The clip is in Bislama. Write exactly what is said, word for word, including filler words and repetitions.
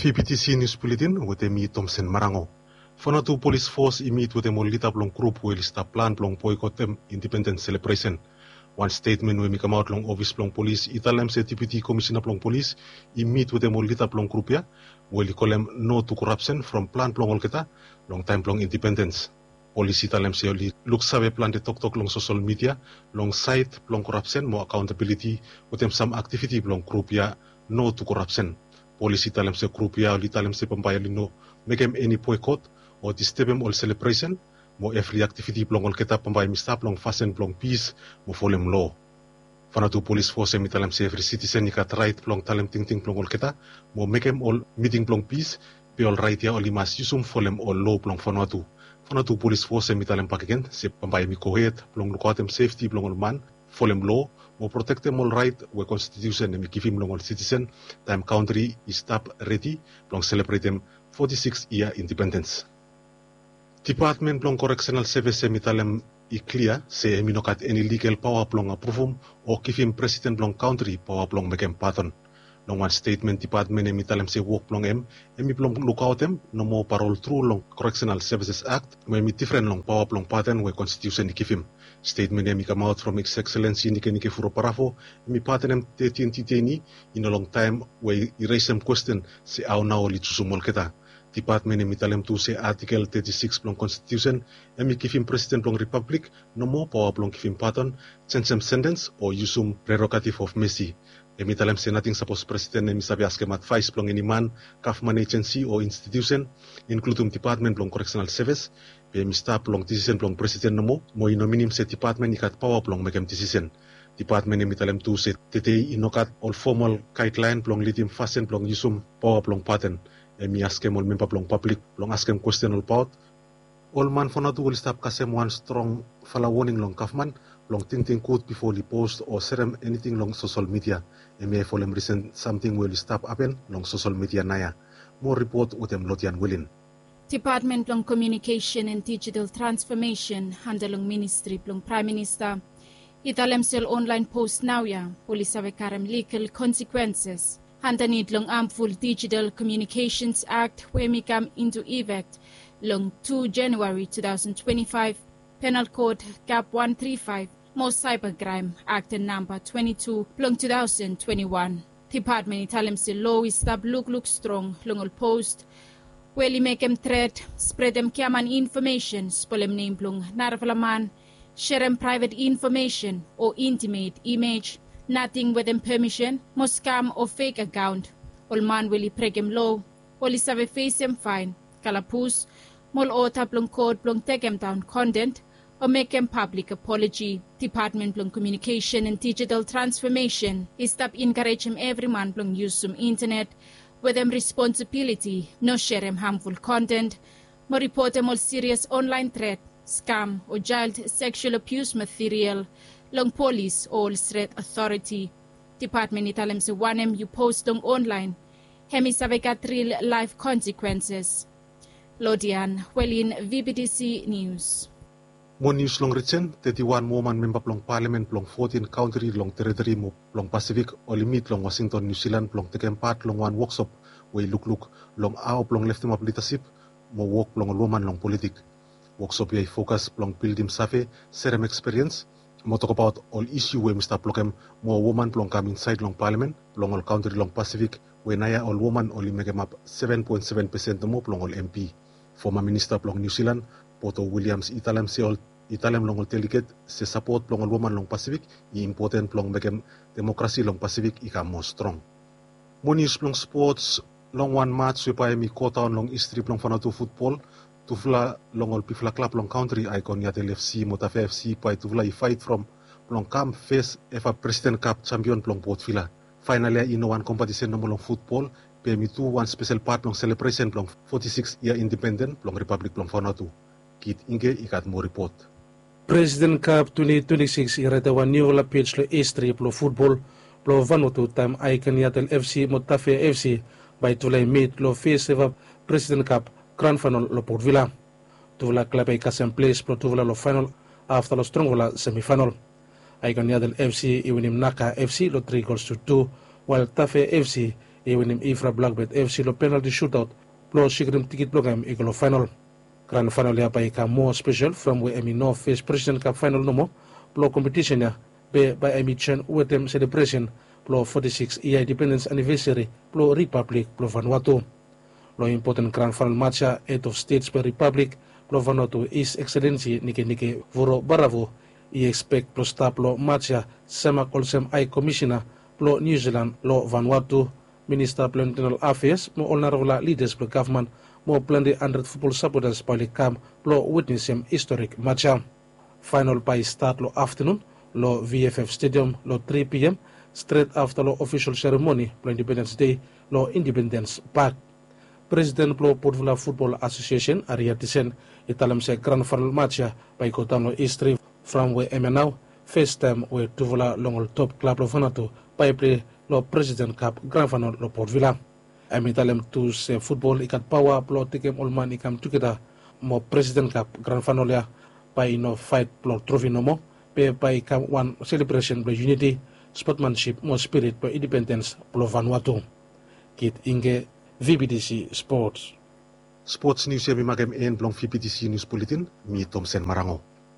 P P T C News Bulletin wetem mi Tomsen Marango. Vanuatu Polis Fos i mit wetem ol lida blong grup we oli stap plan blong boikotem indipendens selebresen. Wan stetmen we mi kamaot long ofis blong polis i talem se Deputi Komisena blong Polis i mit wetem ol lida blong grup ya we oli kolem No to Corruption from plan blong olgeta long taem blong indipendens. Polis i talem se oli luksave plante toktok long sosol midia long saed blong korapsen mo akaontabiliti wetem sam aktiviti blong grup ya No to Corruption. Polis i talem se grup ya oli talem se bambae oli no mekem eni boekot o distebem ol selebresen mo evri aktiviti blong olgeta bambae hem i stap long fasin blong pis mo folem loa. Vanuatu Polis Fos hem i talem se evri sitisen i gat raet blong talem tingting blong olgeta mo mekem ol miting blong pis, be ol raet ya oli mas yusum folem ol loa blong Vanuatu. Vanuatu Polis Fos hem i talem bakegen se bambae hem i gohed blong lukaotem sefti blong ol man, folem loa mo protektem ol raet we konstitiusen hem i givim long ol sitisen taem kantri i stap redi blong selebretem foti sikis yia indipendens. Dipatmen blong Koreksenal Sevis hem i talem i klia se hem i no gat eni ligal paoa blong apruvum o givim presiden blong kantri paoa blong mekem padon. Long wan stetmen dipatmen hem i talem se wok blong hem hem i blong lukaotem nomo parol tru long Koreksenal Sevises Akt we hem i difren long paoa blong padon we konstitiusen i givim. Stetmen hem i kamaot from His Excellency Nikenike Vurobarawo hem i padonem tetin diteini i no long taem we i resem kwesten se hao nao oli jusum olgeta. Dipatmen hem i talem tu se Atikel teti sikis blong konstitiusen hem i givim presiden blong ripablik nomo paoa blong givim padon, jenjem sentens o yusum prerogatif of mesi. Hem i talem se nating sapos presiden hem i save askem advaes blong eni man, gavman ejensi o institiusen, inkludum dipatmen blong Koreksenal Sevis, be hem i stap long disisen blong presiden nomo mo i no minim se dipatmen i gat paoa blong mekem disisen. Dipatmen hem i talem tu se tede i no gat ol fomal gaedlaen blong lidim fasin blong yusum paoa blong padon. Hem i askem ol memba blong pablik blong askem kwesten olbaot. Ol man Vanuatu oli stap kasem wan strongfala woning long gavman blong tingting gud bifo oli post o serem eniting long sosol midia. Hemia i folem risen samting we oli stap hapen long sosol midia naoia. Moa ripot wetem Lodian Wilin. Dipatmen blong Komiunikesen and Dijital Transfomesen anda long ministri blong Praem Minista i talem se ol onlaen post naoia oli save karem ligal konsekwenses andanit long hamful Dijital Komiunikesens Akt we hem i kam into effect long tu Januari tu taosen twenti faef, Penal Kot Kap wan tri faef mo Saiba Kraem Akt namba twenti tu blong tu taosen twenti wan. Dipatmen i talem se loa i stap lukluk strong long ol post we oli mekem tret, spredem giaman infomesen, spolem nem blong narafala man, serem praevet infomesen o intimet imej, nating wetem pemisen, mo skam o fek akaon. Ol man we oli brekem loa oli save fesem faen, kalabus, mo ol oda blong kot blong tekemdaon konten o mekem pablik apoloji. Dipatmen blong Komiunikesen and Dijital Transfomesen i stap enkarejem evri man blong yusum intenet wetem responsibiliti, no serem hamful konten mo ripotem ol sirias onlaen tret, skam o jael seksual abius material long polis o ol stret otoriti. Dipatmen i talem se wanem yu post long onlaen hem i save gat ril laef konsekwenses. Lodian Welin, V B T C Nius. Moa nius long risen, teti wan woman memba blong palamen blong fotin kantri long teriteri mo blong Pasifik oli mit long Wasington, Niu Silan blong tekem pat long wan woksop we i lukluk long hao blong leftemap lidasip mo wok blong ol woman long politik. Woksop ya i fokas blong bildim save, serem ekspiriens mo tokbaot ol isu we hem i stap blokem moa woman blong kam insaed long palamen blong ol kantri long Pasifik we naoia ol woman oli mekemap seven point seven percent nomo blong ol M P. Foma minista blong Niu Silan, Poto Williams, i talem se ol i talem long ol deliget se sapot blong ol woman long Pasifik i impoten blong mekem demokrasi long Pasifik i kam moa strong. Moa nius blong spots, long wan mats we bae hem i godaon long histri blong Vanuatu futbol, tufala long ol bigfala klab long kantri, Aikon Yatel F C mo Tafea F C, bae tufala i faet from blong kam fes eva Presiden Kap jampion blong Port Vila. Faenal ya i no wan kompetisen nomo long futbol, be hem i tu wan spesel pat blong selebresen blong foti sikis yia indipenden blong Ripablik blong Vanuatu. Kit Ingke i gat moa ripot. Presiden Kap twenti twenti sikis i raetem wan niufala pej long histri blong futbol blong Vanuatu taem Aikon Yatel F C mo Tafea F C bae tufala i mit long fes eva Presiden Kap gran faenal long Port Vila. Tufala klab ya i kasem ples blong tufala long faenal afta long strongfala semifaenal. Aikon Yatel F C i winim Naka F C long tri gols tu tu, wael Tafea F C I winim Ifra Blakbet FC long penalti sutaot blong sikirim tikit blong hem i go long faenol. Gran faenol ya bae i kam moa spesel from we hem i no fes Presiden Kap faenol nomo blong kompetisen ya, be bae hem i joen wetem selebresen blong foti sikis yia indipendens anivesari blong Ripablik blong Vanuatu. Long impoten gran faenol mats ya, hed of stets blong Ripablik blong Vanuatu, His Excellency Nikenike Vurobaravu, i ekspek blong stap long mats ya semak olsem Hae Komisena blong Niu Silan long Vanuatu, Minista blong Intenal Afeas mo ol narafala lidas blong gavman mo plante handred futbol sapotas bae oli kam blong witnesem historik mats ya. Faenol bae i stat long aftenun long VFF Stadium long tri PM, stret afta long ofisol seremoni blong Indipendens Dei long Indipendens Pak. Presiden blong Portvilla Futbol Asosiesen, Aria Tisen, i talem se gran faenol mats ya bae i godaon long histri from we hemia nao fes taem we tufala long ol top klab long Vanuatu bae i plei long Presiden Kap gran faenol long Portvilla. Hem i talem tu se futbol i gat paoa blong tekem ol man i kam tugeta, mo Presiden Kap gran faenol ya bae i no faet blong trofi nomo, be bae i kam wan selebresen blong yuniti, spotmansip mo spirit blong indipendens blong Vanuatu. Kit Ingge, VBTC Sports. Sports nius ya mi makem en blong VBTC Nius Buletin. Mi Tomsen Marango.